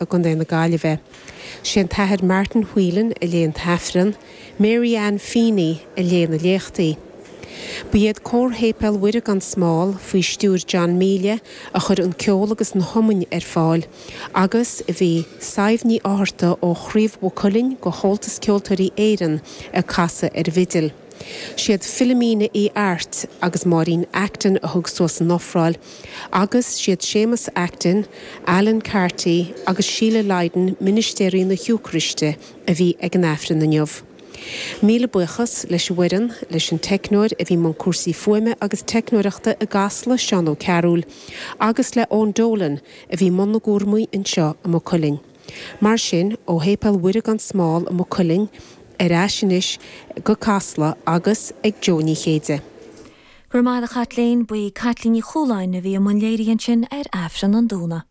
i gContae na Gaillimhe. Sé an tAthair Martin Whelan a léigh an tAifreann, Mary Ann Feeney a léigh na léachtaí. Ba iad Cór Shéipéal Mhuire gan Smál, faoi stiúir John Míle, a chuir an ceol agus na hiomainn ar fáil agus bhí Sadhbh Ní Fhátharta ó Chraobh Mhaigh Cuilinn de Chomhaltas Ceoltóirí Éireann ag casadh ar an bhfidil. Siad Philomena Uí Airt agus Máirín Acton a thug suas an ofráil agus siad Séamus Acton, Alan Carty agus Síle Lydon ministéirí na hEocairiste a bhí ag an Aifreann inniu. Míle buíochas leis an bhfoireann, leis an teicneoir a bhí i mbun cúrsaí fuaime agus teicneoireachta i gCasla, Seán Ó Cearúil, agus le Eoin Dolan a bhí i mbun na gcúramaí anseo i Maigh Cuilinn. Mar sin, ó Shéipéal Mhuire gan Smál i Maigh Cuilinn, ar ais anois go Casla agus ag Jó Ní Chéide. Go raibh maith agat a Chaitlín. Ba í Caitlín Ní Chualáin a bhí i mbun léirithe ansin ar Aifreann an Dúna.